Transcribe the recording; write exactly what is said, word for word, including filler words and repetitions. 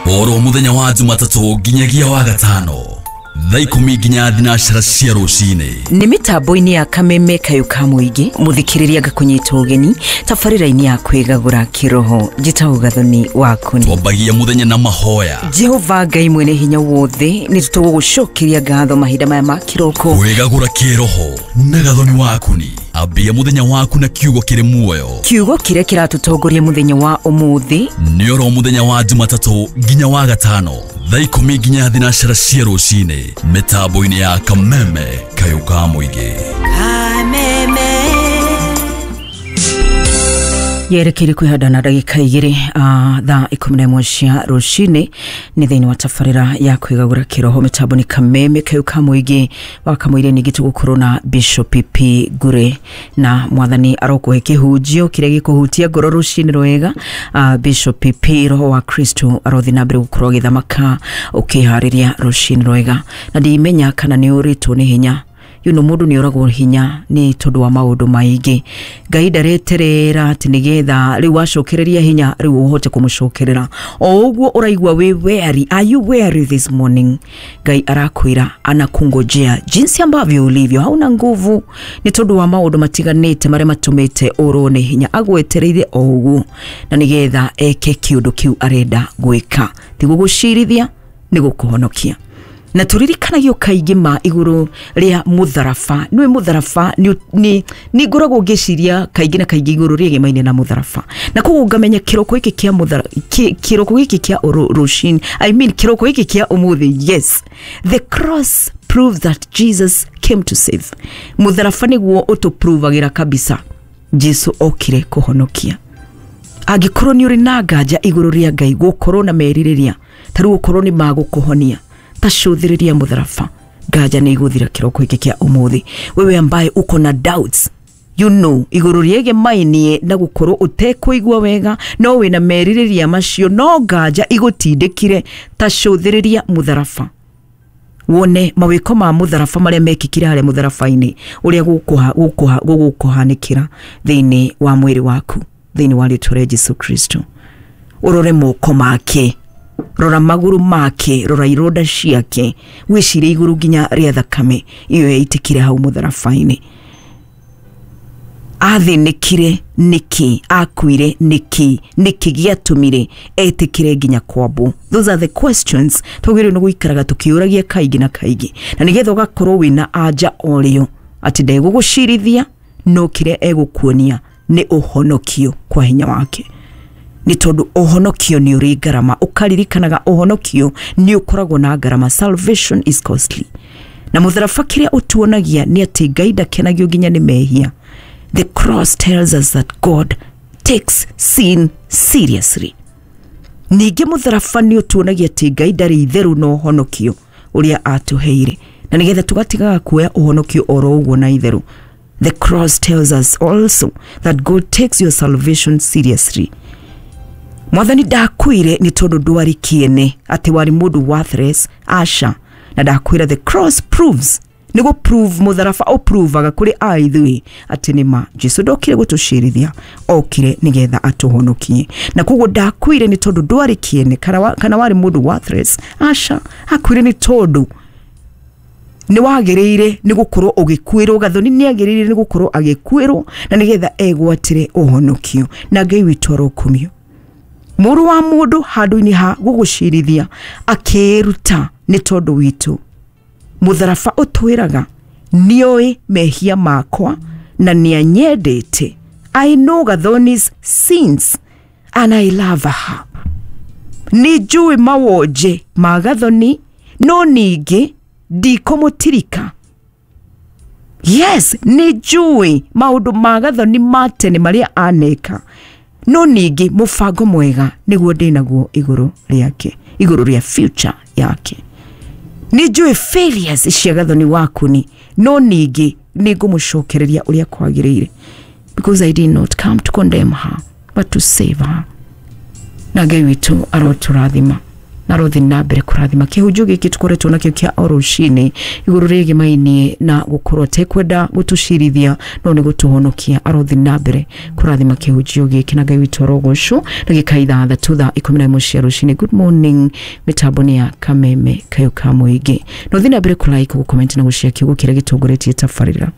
Oro muthenya wa Jumatatũ nginyagia wa gatano thaa ikũmi nginya thinacara cia rũcinĩ. Nĩ mĩtambo-inĩ ya Kameme Kayũ ka Mũingĩ, mũthikĩrĩria ngakũnyita ũgeni tabarĩra-inĩ ya kwĩgagũra kĩroho. Njĩtagwo Gathoni Wakũni. Twambagia mũthenya na mahoya. Jehova Ngai mwene hinya wothe, nĩ tũgũgũcokeria ngatho mahinda maya ma kĩroko. Kwĩgagũra kĩroho na Gathoni Wakũni. Ambia mũthenya waku na kiugo kĩrĩ muoyo. Kiugo kĩrĩa kĩratũtongoria mũthenya wa ũmũthĩ nĩ oro mũthenya wa Jumatatũ nginya wa gatano thaa ikũmi nginya thinacara cia rũcinĩ mĩtambo-inĩ ya Kameme Kayũ ka Mũingĩ. Kameme. Yerekeire kwĩhanda na ndagĩka igĩrĩ uh, thaa ikũmi na ĩmwe cia rũcinĩ nĩ thĩinĩ wa tabarĩra ya kwĩgagũra kĩroho. Mĩtambo nĩ Kameme Kayũ ka Mũingĩ. Wa Kamũira ningĩ tũgũkorwo na Bishop P Ngure, na mwathani arokũhe kĩhunjio kĩrĩa gĩkũhutia ngoro rũcinĩ rwega. uh, Bishop P, roho wa Kristo arothi na mbere gũkorwo agĩthamaka ũkĩharĩria rũcinĩ rwega. Na ndimenya kana nĩ ũrĩtwo nĩ hinya. You know, mũndũ nĩ oragwo hinya nĩ tondũ wa maũndũ maingĩ. Ngai ndareterera atĩ nĩgetha rĩu wacokereria hinya rĩu ũhote kũmũcokerera. O ũguo ũraigua wĩ weary. Are you weary this morning? Ngai arakwĩra anakungojea jinsi ambavyo ulivyo. Hauna nguvu nĩ tondũ wa maũndũ matiganĩte marĩa matũmĩte ũrwo nĩ hinya. Agwetereire o ũguo na nĩgetha eke kĩũndũ kĩu arenda gwĩka. Ti gũgũcirithia, nĩ gũkũhonokia. Na tũririkanagio kaingĩ ma igũrũ rĩa mũtharaba. Nĩũĩ mũtharaba nĩ nĩ ngoragwo ngĩciria kaingĩ na kaingĩ igũrũ rĩegemaine na mũtharaba. Na koguo ngamenya kĩroko gĩkĩ kĩa mũtharaba, kĩroko gĩkĩ kĩa rũcinĩ, I mean kĩroko gĩkĩ kĩa ũmũthĩ, yes. The cross proves that Jesus came to save. Mũtharaba nĩguo ũtũprovagĩra kabisa Jesu okire kũhonokia. Angĩkorwo nĩ ũrĩ na nganja igũrũ rĩa Ngai gũkorwo na merirĩria, ta rĩu ũkorwo nĩ magũkũhonia, tacũthĩrĩria mũtharaba, nganja nĩ igũthira kĩroko gĩkĩ kĩa ũmũthĩ. Wewe ambaye uko na doubts, you know, igũrũ rĩegemainie na gũkorwo ũtekũigua wega, no wĩna merirĩria macio, no nganja igũtindĩkire, tacũthĩrĩria mũtharaba. Wone mawĩko ma mũtharaba marĩa mekĩkire harĩa mũtharaba-inĩ, ũrĩa gũgũkũhanĩkĩra thĩinĩ wa mwĩrĩ waku, thĩinĩ wa rĩtwa rĩa Jesu Kristo. Ũrore moko make, rora magũrũ make, rora ironda ciake, wĩcirie igũrũ nginya rĩa thakame iyo yaitĩkire hau mũtharaba-inĩ. Athĩnĩkire nĩkĩ? Akuire nĩkĩ? Nĩkĩ gĩatũmire etĩkĩre nginya kwambwo? Those are the questions twagĩrĩirwo nĩ gũikaraga tũkĩũragia kaingĩ na kaingĩ, na nĩgetha ũgakorwo wĩna anja o rĩo atĩ ndegũgũcirithia, no kĩrĩa egũkuonia nĩ ũhonokio kwa hinya wake. Nĩ tondũ ũhonokio nĩ ũrĩ ngarama. Ũkaririkanaga ũhonokio nĩ ũkoragwo na ngarama. Salvation is costly. Na mũtharaba kĩrĩa ũtuonagia nĩ atĩ Ngai ndakenagio nginya nĩ mehia. The cross tells us that God takes sin seriously. Ningĩ mũtharaba nĩ ũtuonagia atĩ Ngai ndarĩ itherũ na ũhonokio ũrĩa atũheire, na nĩgetha tũgatigaga kuoya ũhonokio oro ũguo na itherũ. The cross tells us also that God takes your salvation seriously. Mwathani ndakwire nĩ tondũ ndwarĩ kĩene, atĩ warĩ mũndũ worthless, aca. Na ndakwĩra the cross proves, nĩguo prove, mũtharaba ũprovaga kũrĩ a ithuĩ atĩ nĩ ma Jesu ndokire gũtũcirithia, okire nĩgetha atũhonokie. Na koguo ndakwire nĩ tondũ ndwarĩ kĩene kana wa- kana warĩ mũndũ worthless, aca. Akuire nĩ tondũ nĩ wagĩrĩire nĩ gũkorwo ũgĩkuĩrwo. Gathoni nĩ agĩrĩire nĩ gũkorwo agĩkuĩrwo na nĩgetha egwatĩre ũhonokio. Na Ngai witũ arokumio. Mũrũ wa mũndũ handũ-inĩ ha gũgũcirithia akĩĩruta nĩ tondũ witũ. Mũtharaba ũtwĩraga nĩoĩ mehia makwa na nĩanyendete. I know Gathoni's sins and I love her. Nĩ njũĩ mawonje ma Gathoni, no ningĩ ndikũmũtirika. Yes, nĩ njũĩ maũndũ ma Gathoni ma tene marĩa aneka, no ningĩ mũbango mwega nĩguo ndĩnaguo igũrũ rĩake, igũrũ rĩa future yake. Nĩ njũĩ failures cia Gathoni Wakuni, no ningĩ nĩ ngũmũcokereria ũrĩa kwagĩrĩire, because I did not come to condemn her but to save her. Na Ngai witũ arotũrathima. Na rothi na mbere kũrathima kĩhunjio gĩkĩ tũkoretwo nakĩo kĩa o rũcinĩ igũrũ rĩgĩmainie na gũkorwo atekwenda gũtũcirithia no nĩ gũtũhonokia. Arothi na mbere kũrathima kĩhunjio gĩkĩ na Ngai witũ arogocwo. Ndagĩka ithathatũ thaa ikũmi na ĩmwe cia rũcinĩ. Good morning, mĩtambo nĩ ya Kameme Kayũ ka Mũingĩ. Na ũthiĩ na mbere kũlike, gũcomment na gũshare kiugo kĩrĩa gĩtongoretie tabarĩra.